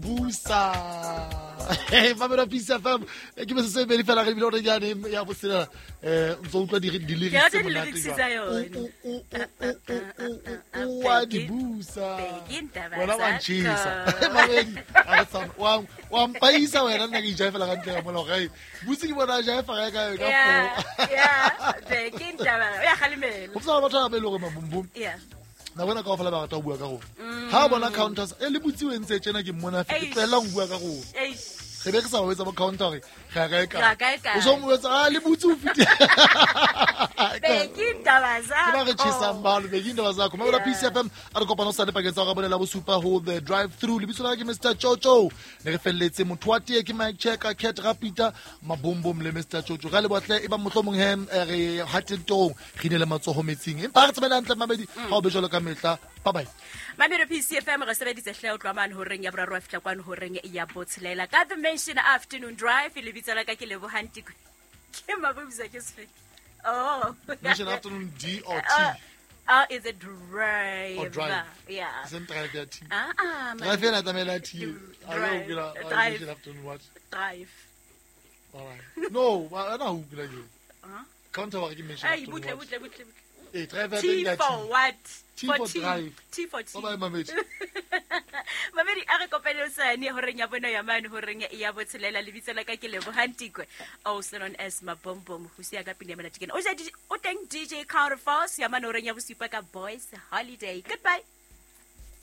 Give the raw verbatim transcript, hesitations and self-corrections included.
Busa. Hey, Mamela Peace F M. Ke metsotso e medi fela re ebile hore jane ya botshelela. Eh, o ntso utlwa di di Ke rata lyrics tse monate di-lyrics jwang. tsa yone. O o o o o o o wa di busa. Bheki indaba Wena wa zakho. ntjhesa. Mamedi, ha re tshwane. Wa wa mpaisa wena nna ke ijaefela ka ntle ka mola hore, hey, butse ke bona a jaefa kae kae ka Yeah, four. yeah. Bheki indaba. Uyakhalimela. Ho tswa batho ba ba e leng hore mabumbum. Yeah. Na bona kaofela ba rata ho bua ka rona. Ha bona counters e le butse o entse tjena ke mmona fe ke Eish. tlohella ho bua ka rona. Eish. Re be re sa ba etsa bo counter hore re ya kae Re ya kae. kae kae. O so mo etsa ah le butse o fetile. Bheki indaba Ke ba re zakho. tjhesang balo Bheki indaba zakho. Mamela Yeah. Peace F M a re kopana hosane pakeng tsa hora ya bone la bosupa ho the drive through. Lebitso la ka ke Mister Chocho. Ne re felletse motho wa tee ke Mike Checker, Cat Rapita, Mabombom le Mister Chocho. Ra leboha hle e bang mohlomong he eh, re hatentong re ine le matsoho metsing. Empa re tsamaele hantle mamedi ha o be jwalo ka mehla. Bye bye. Mamelo P C F M re sebeditse hle o tloha mane horeng ya boraro wa fihla kwano horeng ya botshelela ka The Mansion Afternoon Drive. Lebitso la ka ke Lebohang Tiko. Ke Mabubza ke sefe? Oh. Mansion Afternoon D or T? Uh, uh, is it drive? Or drive. Yeah. Same drive ya T. Ah, ah, man. Drive ena tlamehile ya T. Drive. A ke la Drive. Mansion Afternoon what? Drive. All right. No, wa ana ho kula ke. Huh? Counter wa re ke Mansion Hey, Afternoon butle, what? butle, butle, butle. Eh, drive ya T teng ya for T. what? T For for T. drive. T for T. Bye bye mamedi. Mamedi a re kopane hosane horeng ya bone ya mane horeng ya botshelela. Lebitso la ka ke Lebohang Tikwe, also known as Mabombom, ho siya ka pina ya monate kena. O ja D J, o teng D J Counterforce ya mane horeng ya bosupa ka Boys Holiday. Goodbye.